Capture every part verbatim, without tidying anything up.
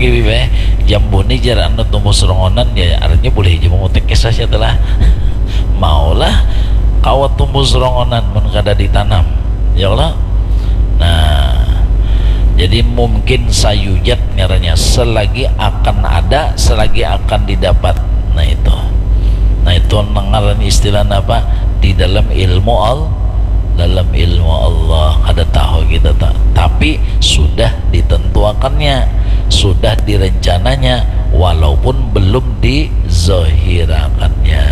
Bibih, jambu ni jar anu tumbuh serongonan, ya artinya boleh aja memetik kisah saja lah. Maulah kawa tumbuh serongonan mun kada ditanam, ya Allah. Nah, jadi mungkin sayujad ngarannya, selagi akan ada, selagi akan didapat. Nah itu, nah itu ngaran istilah apa di dalam ilmu Allah, dalam ilmu Allah kada tahu kita tak, tapi sudah ditentuakannya, sudah direncananya, walaupun belum dizohirakannya.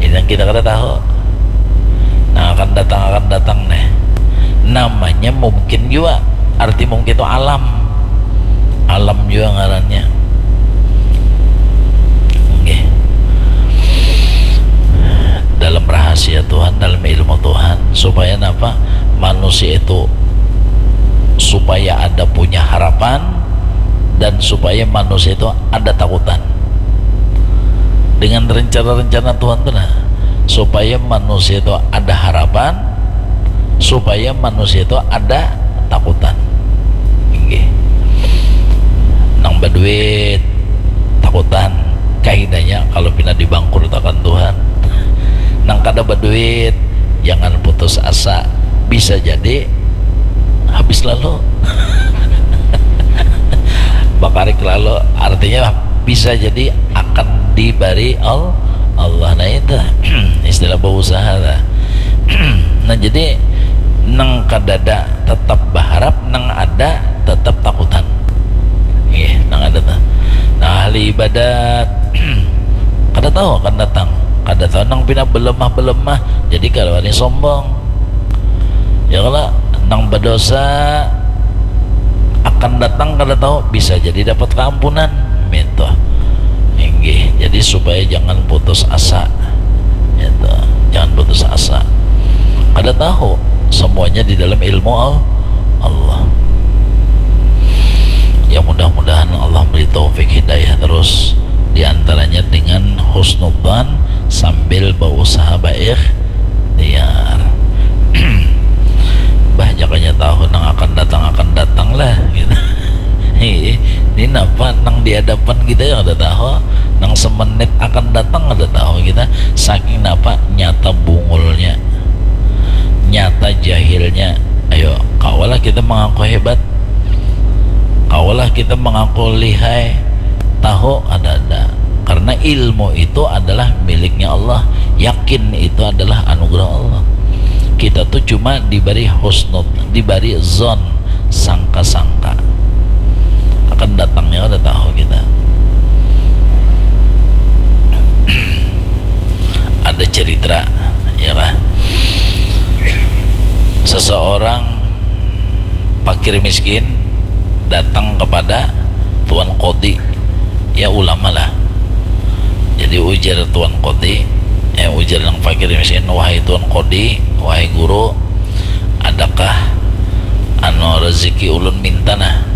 Ini yang kita kada tahu. Nah, akan datang, akan datang nih. Namanya mungkin juga. Arti mungkin itu alam. Alam juga ngarannya. Oke. Dalam rahasia Tuhan, dalam ilmu Tuhan, supaya apa? Manusia itu supaya ada punya harapan dan supaya manusia itu ada takutan. Dengan rencana-rencana Tuhan tuh nah, supaya manusia itu ada harapan, supaya manusia itu ada takutan. Inggih. Nang baduit takutan, kahinanya kalau pina dibangkrutakan Tuhan. Nang kada baduit, jangan putus asa, bisa jadi habis lalu. Bakarik lalu, artinya bisa jadi akan dibari Allah. Nah itu istilah berusaha lah. Nah jadi nang kadada tetap berharap, nang ada tetap takutan. Iya, nang ada tuh. Nah, ahli ibadat kada tahu akan datang, kada tahu nang pina belemah-belemah, jadi kada wani sombong. Ya kalau nang berdosa akan datang kada tahu, bisa jadi dapat keampunan. Minta. Inggih, jadi supaya jangan putus asa. Itu, jangan putus asa. Kada tahu, semuanya di dalam ilmu Allah. Ya mudah-mudahan Allah beri taufik hidayah terus, diantaranya dengan husnudzan sambil berusaha baik tiar. Bah, jakanya tahu nang akan datang akan datang lah gitu. Ini napa nang di hadapan kita yang ada tahu, nang semenit akan datang ada tahu kita. Saking napa nyata bungulnya, nyata jahilnya. Ayo, kawalah kita mengaku hebat, kawalah kita mengaku lihai, tahu ada ada. Karena ilmu itu adalah miliknya Allah, yakin itu adalah anugerah Allah. Kita tuh cuma diberi husnud, diberi zon, sangka-sangka akan datangnya, ada tahu kita. Ada cerita, ya kan? Seseorang pakir miskin datang kepada Tuan Kodi, ya ulama lah. Jadi ujar Tuan Kodi, eh ujar nang fakir miskin, "Wahai Tuan Kodi, wahai guru, adakah anu rezeki ulun minta nah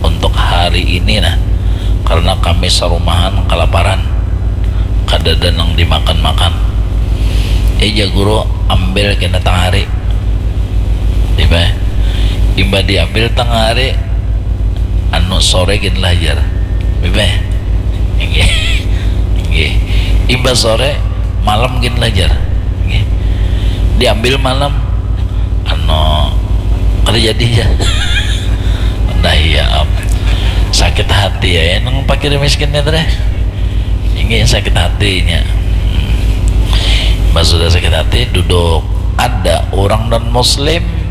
untuk hari ini nah, karena kami sarumahan kalaparan, kadada nang dimakan-makan." "Ija guru, ambil kena tangari." Imbah, imbah diambil tangari, anu sore gin lah jar. Bibeh. Inggih. Inggih. Imbah sore, malam gin lah jar. Inggih. Diambil malam, anu kada jadi ya. Nah iya am. Sakit hati ya, ya nang pakir miskin ya teh. Inggih sakit hatinya. Hmm. Pas sudah sakit hati, duduk. Ada orang non muslim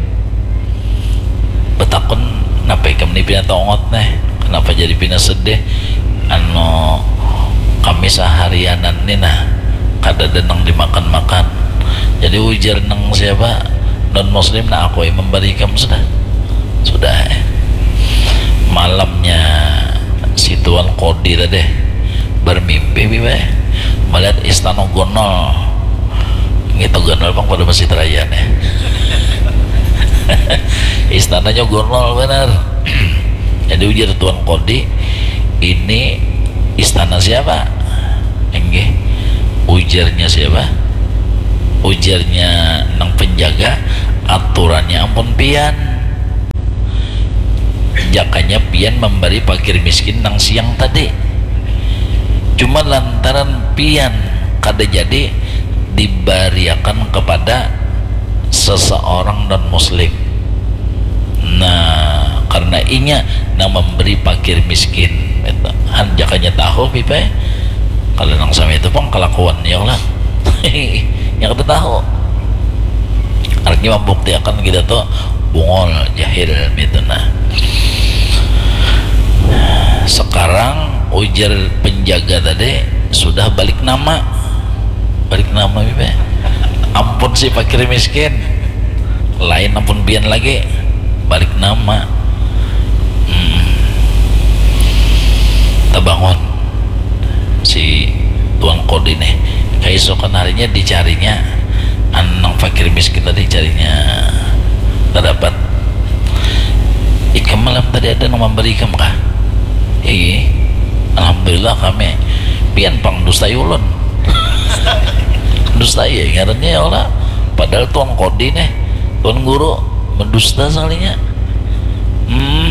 betakun, "Napa ikam ni pina tongot neh? Kenapa jadi pina sedih?" "Anu, kami saharianan ni nah, kadada nang dimakan-makan." Jadi ujar nang siapa, non muslim, "Nah, aku yang memberi ikam sudah." Sudah, eh. Malamnya si Tuan Kodi tadi bermimpi, bibeh, melihat istana gonol. Ngitu ganal pang pada Masjid Raya nih. Istananya gonol benar. Jadi ujar Tuan Kodi, "Ini istana siapa?" Enggih. Ujarnya siapa? Ujarnya nang penjaga, "Aturannya ampun pian." Jakanya pian mambari pakir miskin nang siang tadi. Cuma lantaran pian kada jadi dibariakan kepada seseorang non muslim. Nah, karena inya nang memberi pakir miskin. Han jakanya tahu pipa. Kalau nang sama itu pang kelakuannya lah. Yang kita tahu. Artinya membuktikan kita tuh bungol, jahil gitu nah. Sekarang ujar penjaga tadi sudah balik nama. Balik nama pipa. Ampun si pakir miskin. Lain ampun pian lagi. Balik nama. Hmm. Tabangun si tuan kodi nih. Kaisokan harinya dicarinya, anu, nang fakir miskin tadi carinya tak dapat. Ikam malam tadi ada nang memberi ikam kah? Iya. Alhamdulillah kami. Pian pang dustai ulun. Dustai ya ngarannya ya Allah. Padahal tuan kodi nih, tuan guru mendusta sekalinya. Hmm.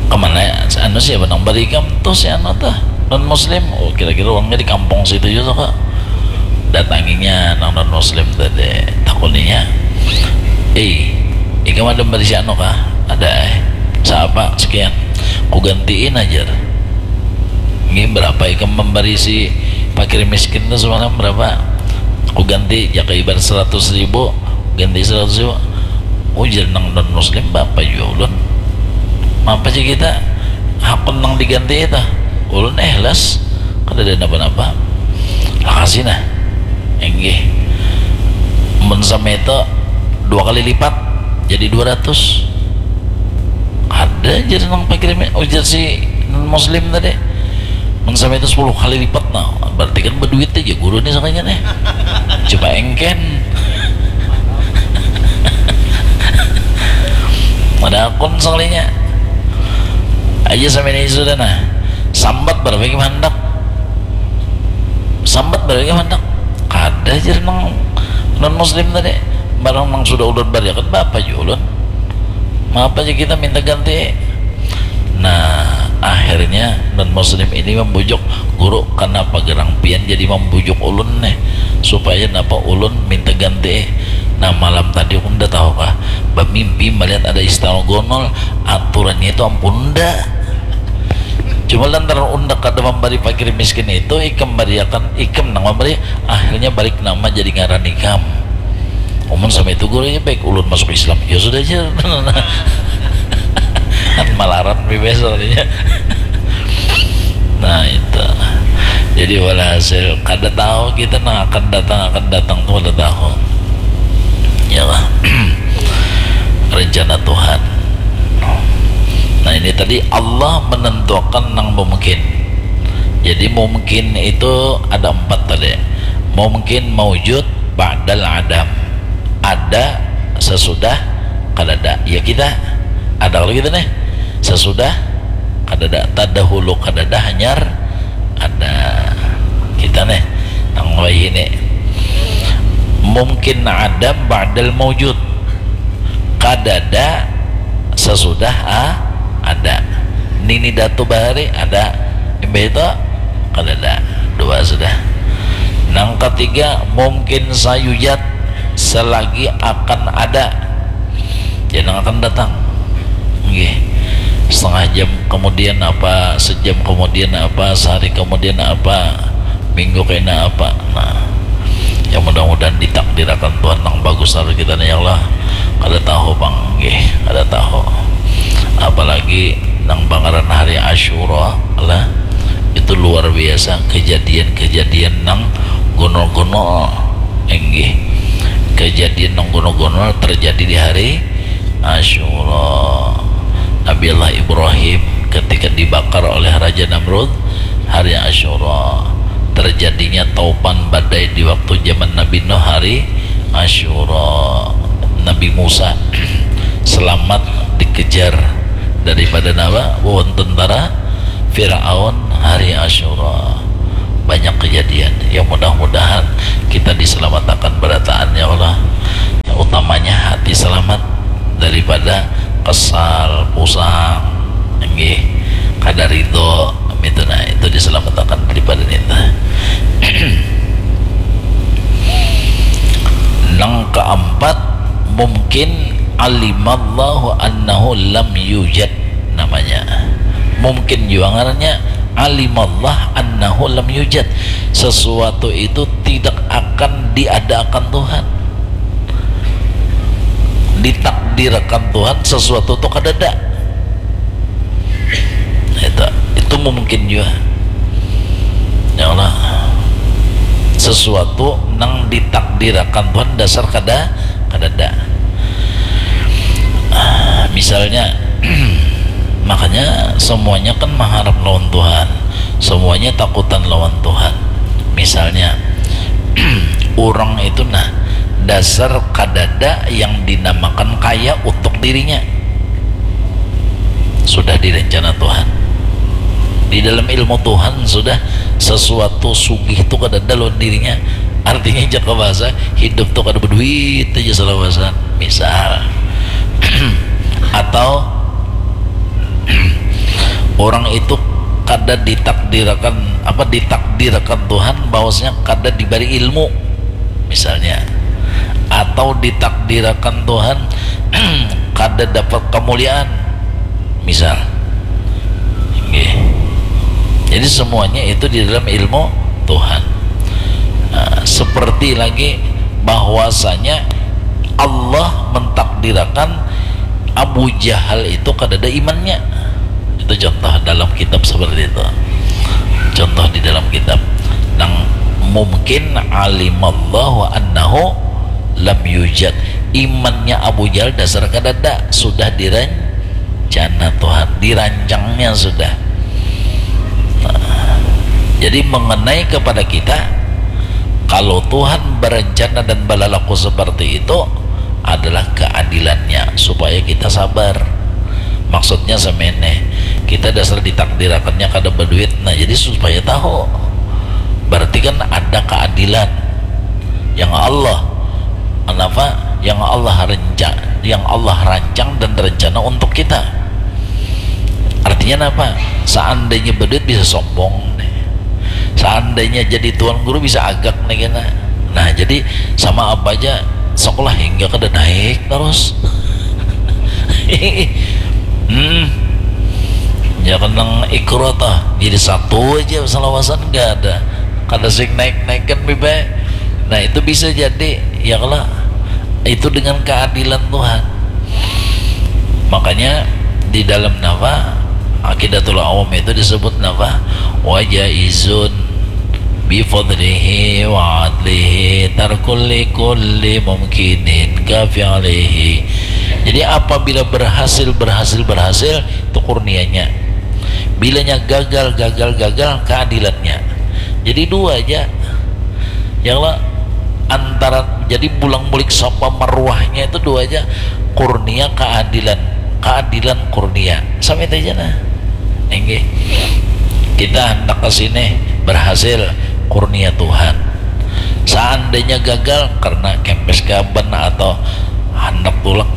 Kemana anu siapa nang bari ikam tuh si anu tuh non muslim? Oh, kira-kira uangnya di kampung situ juga kok. Datanginya nang non muslim tadi, takuninya, "Eh, ikam ada bari si anu kah?" "Ada eh." "Siapa?" "Sekian." "Ku gantiin aja." "Ini berapa ikam memberi si fakir miskin tuh semalam berapa?" "Ku ganti jaka ibarat seratus ribu, ganti seratus ribu." Ujar nang non muslim, "Bapak juga ulun." "Apa sih kita hakun nang diganti itu?" "Ulun ikhlas, kada ada napa-napa." "Lakasi nah." "Inggih." "Mun sama itu dua kali lipat jadi dua ratus." "Ada," jar nang pakir mi-, ujar si non muslim tadi. "Mun sama itu sepuluh kali lipat, nah, berarti kan berduit aja guru nih sakanya nih." Coba engken. Ada akun sakalinya. Aja sama ini sudah nah. "Sambat berapa ikam handak?" "Sambat berapa ikam handak?" "Kada," jar nang non muslim tadi. "Barang nang sudah ulun bariakan bapak jua ulun. Mapa aja kita minta ganti?" Nah, akhirnya non muslim ini membujuk, "Guru, kenapa gerang pian jadi membujuk ulun nih? Supaya napa ulun minta ganti?" "Nah, malam tadi aku nda tahu kah, bamimpi melihat ada istana gonol, aturannya itu ampun nda." "Cuma lantaran unda kada memberi fakir miskin itu, ikam bariakan, ikam nang memberi, akhirnya balik nama jadi ngaran ikam." "Umun sama itu guru ya baik ulun masuk Islam." "Ya sudah aja." Kan malaran bebas soalnya. Nah, itu. Jadi walhasil kada tahu kita nang akan datang, akan datang tuh kada tahu. Ya lah. Rencana Tuhan. Nah, ini tadi Allah menentukan nang mungkin. Jadi mungkin itu ada empat tadi. Mungkin, maujud, ba'dal adam. Ada sesudah kadada. Ya kita. Ada kalau kita nih. Sesudah kadada. Tadahulu kadada, hanyar ada. Kita nih nang wayah ini. Mungkin adam ba'dal maujud. Kadada sesudah a-, ada. Nini Datu bahari ada. Imbah itu kadada. Dua sudah. Nang ketiga, mungkin sayujad, selagi akan ada. Jadi nang akan datang. Nggih. Setengah jam kemudian apa, sejam kemudian apa, sehari kemudian apa, minggu kena apa. Nah, ya mudah-mudahan ditakdirakan Tuhan nang bagus lalu kita nih ya Allah. Kada tahu pang, nggih, kada tahu. Apalagi nang pangaran hari Asyura lah, itu luar biasa kejadian-kejadian nang gonol-gonol, nggih. Kejadian nang gonol-gonol terjadi di hari Asyura. Nabi Allah Ibrahim ketika dibakar oleh Raja Namrud hari Asyura. Terjadinya taupan badai di waktu zaman Nabi Nuh hari Asyura. Nabi Musa selamat dikejar daripada nawa wawan tentara Firaun hari Asyura. Banyak kejadian. Ya mudah-mudahan kita diselamatakan berataan ya Allah. Utamanya hati selamat daripada kesal, pusang, nggih, kada ridho, itu nah, itu diselamatkan daripada itu. Nang keempat, mungkin alimallahu annahu lam yujad namanya. Mungkin juga ngarannya alimallah annahu lam yujad. Sesuatu itu tidak akan diadakan Tuhan. Ditakdirkan Tuhan sesuatu tu kadada. Itu, itu mungkin juga. Ya Allah. Sesuatu nang ditakdirkan Tuhan dasar kada, kadada. Ah, misalnya, makanya semuanya kan mengharap lawan Tuhan, semuanya takutan lawan Tuhan. Misalnya, orang itu nah, dasar kadada yang dinamakan kaya untuk dirinya. Sudah direncana Tuhan. Di dalam ilmu Tuhan sudah sesuatu sugih tu kadada lawan dirinya. Artinya jaka bahasa hidup tu kada berduit aja salawasan. Misal. Atau orang itu kada ditakdirkan, apa, ditakdirkan Tuhan bahwasanya kada diberi ilmu misalnya, atau ditakdirkan Tuhan kada dapat kemuliaan misal. Nggih. Jadi semuanya itu di dalam ilmu Tuhan. Nah, seperti lagi bahwasanya Allah mentakdirkan Abu Jahal itu kadada imannya. Itu contoh dalam kitab seperti itu. Contoh di dalam kitab. Nang mungkin alimallahu annahu lam yujad. Imannya Abu Jahal dasar kadada, sudah direncana Tuhan, dirancangnya sudah. Nah, jadi mengenai kepada kita, kalau Tuhan berencana dan berlaku seperti itu, adalah keadilannya supaya kita sabar. Maksudnya semeneh, kita dasar ditakdirakannya kada berduit, nah jadi supaya tahu, berarti kan ada keadilan yang Allah, kenapa? Yang Allah renca, yang Allah rancang dan rencana untuk kita. Artinya apa? Seandainya berduit bisa sombong nih. Seandainya jadi tuan guru bisa agak nih kena. Nah, jadi sama apa aja sekolah hingga kada naik terus. Hmm. Ya kenang ikro tah. Jadi satu aja salawasan gak ada. Kada sing naik-naik kan bibe. Nah, itu bisa jadi ya kalau itu dengan keadilan Tuhan. Makanya di dalam napa Aqidatul Awam itu disebut napa? Wa jaizun bi fadlihi wa adlihi tarkul li kulli mumkinin ka fi'lihi. Jadi apabila berhasil, berhasil, berhasil, itu kurnianya. Bilanya gagal, gagal, gagal, keadilannya. Jadi dua aja. Yang lah antara, jadi bulang bulik sapa maruahnya itu dua aja, kurnia keadilan, keadilan kurnia, sampai itu aja nah. Enggih. Kita hendak ke sini berhasil, kurnia Tuhan. Seandainya gagal karena kempes gaban atau hendak tulak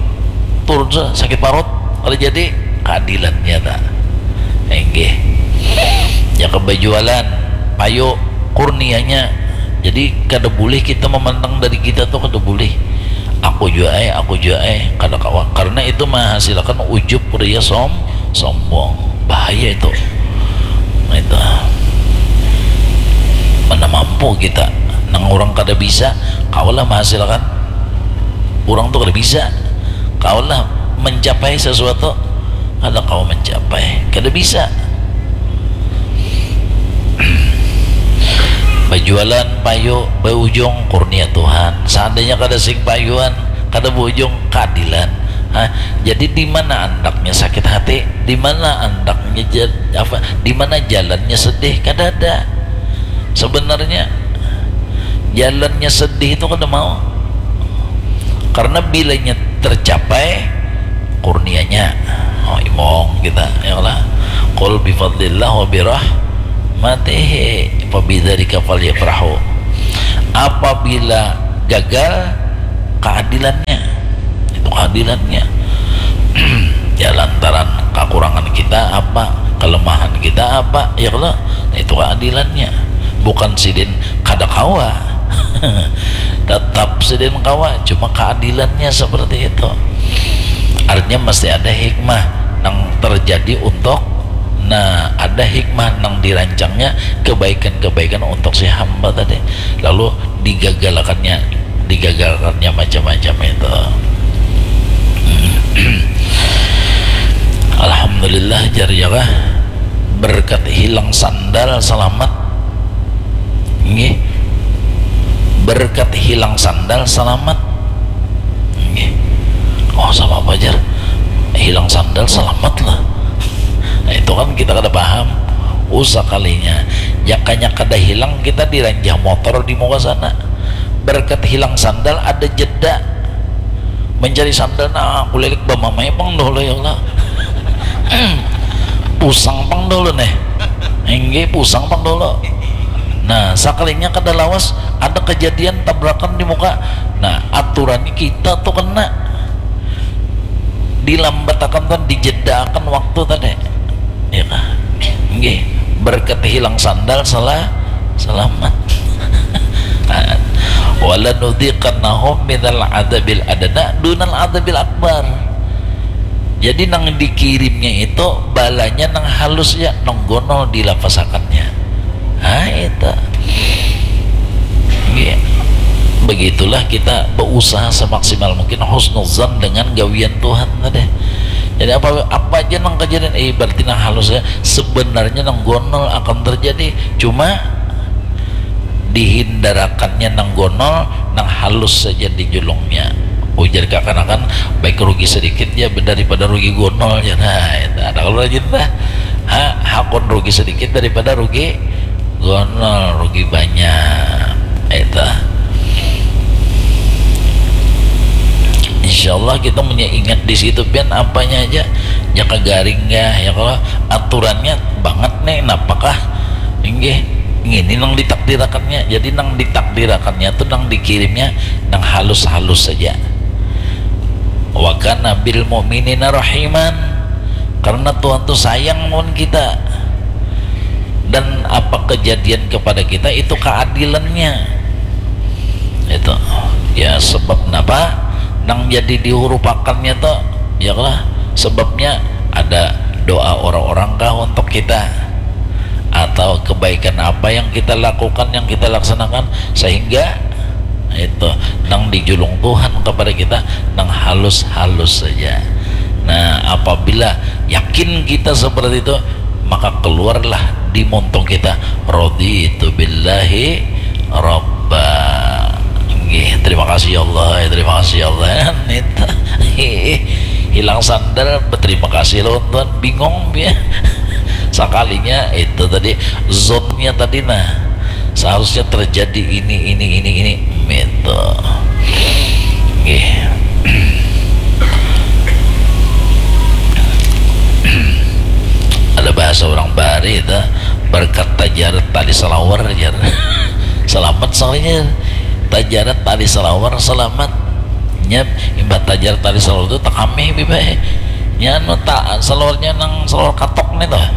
turun sa- sakit parut, kalau jadi keadilannya tak. Enggih. Ya kebajualan, payu, kurnianya. Jadi kada boleh kita memandang dari kita tuh, kada boleh. Aku jua eh, aku jua eh, kada kawa. Karena itu menghasilkan ujub, ria, som, sombong. Bahaya itu. Nah, itu. Mana mampu kita? Nang orang kada bisa, kawalah menghasilkan. Orang tuh kada bisa. Kawalah mencapai sesuatu, kada kawa mencapai, kada bisa. Bajualan payu, baujung, kurnia Tuhan. Seandainya kada sing payuan, kada baujung, keadilan. Hah? Jadi di mana andaknya sakit hati? Di mana andaknya ja- apa? Di mana jalannya sedih? Kada ada. Sebenarnya jalannya sedih itu kada mau. Karena bilanya tercapai kurnianya, oh imong kita, ya Allah. Qul bifadlillah wa birahmatihi fabidzalika falyafrahu. Apabila gagal, keadilannya. Itu keadilannya. Ya, lantaran kekurangan kita apa, kelemahan kita apa, ya kalau, nah, itu keadilannya. Bukan sidin kada kawa. Tetap sidin kawa, cuma keadilannya seperti itu. Artinya mesti ada hikmah yang terjadi untuk, nah, ada hikmah yang dirancangnya kebaikan-kebaikan untuk si hamba tadi, lalu digagalakannya, digagalakannya macam-macam itu. Alhamdulillah, jar ya kah, berkat hilang sandal selamat. Nggih. Berkat hilang sandal selamat. Nggih. Oh, sama apa, jar? Hilang sandal selamat lah. Nah, itu kan kita kada paham. Usah kalinya. Jakanya kada hilang, kita diranjah motor di muka sana. Berkat hilang sandal ada jeda. Mencari sandal, nah, kulilik bamamai pang dulu, ya Allah. Pusang pang dulu nih. Inggih, pusang pang dulu. Nah, sakalinya kada lawas, ada kejadian tabrakan di muka. Nah, aturannya kita tuh kena dilambatakan, tuh dijedaakan waktu tadi. Ya kah? Inggih, berkat hilang sandal salah, selamat. Wala nudziqannahum minal adzabil adna dunal adzabil akbar. Jadi nang dikirimnya itu balanya nang halus ya, nang gonol dilapasakannya. Ah, itu. Iya. Begitulah kita berusaha semaksimal mungkin husnuzan dengan gawian Tuhan tadi. Jadi apa, apa aja nang kejadian, eh, berarti nang halus ya, sebenarnya nang gonol akan terjadi. Cuma dihindarakannya nang gonol, nang halus saja dijulungnya. Ujar kakanakan, baik rugi sedikit ya daripada rugi gonol ya. Nah, itu ada kalau rajin lah. Ha, hakun rugi sedikit daripada rugi gonol, rugi banyak. Itu. Insya Allah kita punya ingat di situ, pian apanya aja, jaka garing ya, ya kalau aturannya banget nih, napakah? Inggih, ini nang ditakdirakannya. Jadi nang ditakdirakannya tuh, nang dikirimnya, nang halus-halus saja. Wa kana bil mu'minina rahiman. Karena Tuhan tuh sayang lawan kita. Dan apa kejadian kepada kita itu keadilannya. Itu. Ya, sebab napa? Nang jadi dihurupakannya tuh, ya lah, sebabnya ada doa orang-orang kah untuk kita? Atau kebaikan apa yang kita lakukan, yang kita laksanakan, sehingga itu nang dijulung Tuhan kepada kita, nang halus-halus saja. Nah, apabila yakin kita seperti itu, maka keluarlah di muntung kita, "Raditu billahi rabba." Nggih, terima kasih ya Allah, terima kasih ya Allah. Nita. Hilang sandal, berterima kasih lawan Tuhan, bingung dia. Sakalinya itu tadi, zonnya tadi, nah, seharusnya terjadi ini, ini, ini, ini, gitu. Nggih. Ada bahasa orang Bari itu, berkat tajarat tali salawar, jar. Selamat soalnya. Tajarat tali salawar, selamat. Nya, imbah tajarat tali salawar itu takamih, bibai. Nya, anu, ta-, salawarnya nang salawar katok nih tuh.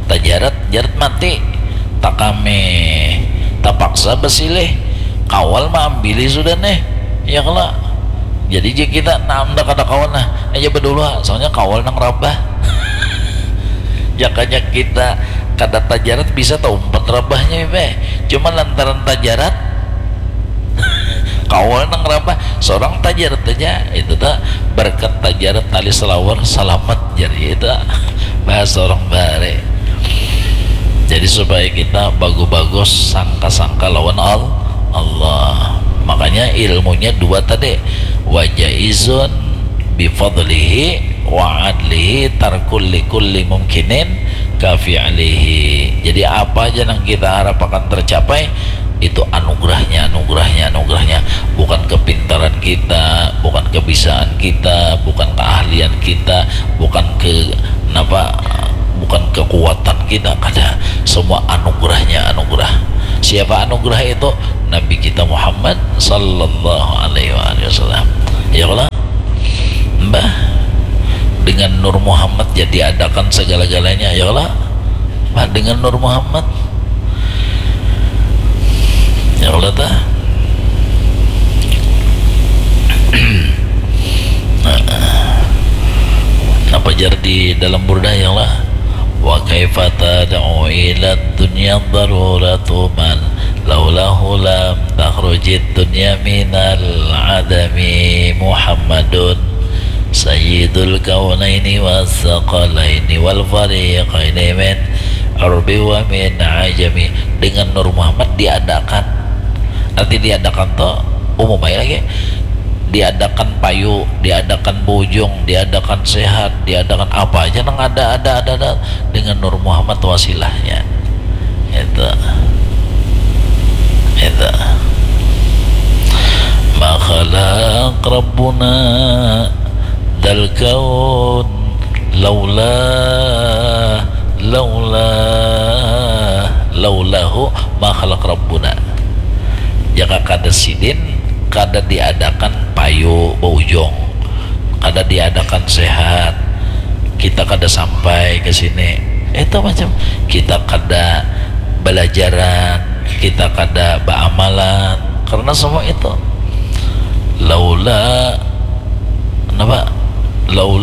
Tajarat, jarat mati. Takamih. Tapaksa basilih. Kawal maambili sudah nih. Ya kalo. Jadi, jika kita, nah, unda kada kawa, nah, aja badulu, ha. Soalnya kawal nang rabah. Jakanya kita kada tajarat bisa taumpat rabahnya, ipe. Cuma lantaran tajarat, kawal nang rabah, sorang tajarat aja. Itu ta, berkat tajarat tali salawar, salamat, jar itu. Bahasa orang Bare. Jadi, supaya kita bagus-bagus sangka-sangka lawan Al-, Allah. Makanya ilmunya dua tadi. Wa jaizun bifadlihi wa adlihi tarkul likulli mumkinin kafi'lihi. Jadi, apa aja nang kita harapakan tercapai, itu anugerahnya, anugerahnya, anugerahnya. Bukan kepintaran kita, bukan kebisaan kita, bukan keahlian kita, bukan ke, napa, bukan kekuatan kita, kada. Semua anugerahnya, anugerah. Siapa anugerah itu? Nabi kita Muhammad sallallahu alaihi wasallam. Ya Allah, mbah, dengan Nur Muhammad jadi adakan segala-galanya, ya Allah. Mbah, dengan Nur Muhammad, ya Allah, tah. Nah, apa jar di dalam Burdah, ya Allah? Wa kaifa tad'u ila dunya daruratu man laulahu lam takhrujid dunya minal adami Muhammadun sayyidul kaunaini was saqalaini wal fariqaini min urbi wa min ajami. Dengan Nur Muhammad diadakan. Arti diadakan tu umum aja lagi. Diadakan payu, diadakan bujung, diadakan sehat, diadakan apa aja nang ada, ada, ada, ada dengan Nur Muhammad wasilahnya. Itu. Itu. Ma khalaq Rabbuna dal kaun laula, laula, laulahu ma khalaq Rabbuna. Jaka kada sidin, kada diadakan payu baujung, kada diadakan sehat, kita kada sampai ke sini. Itu macam kita kada belajaran, kita kada baamalan karena semua itu. Laula, kenapa? Laula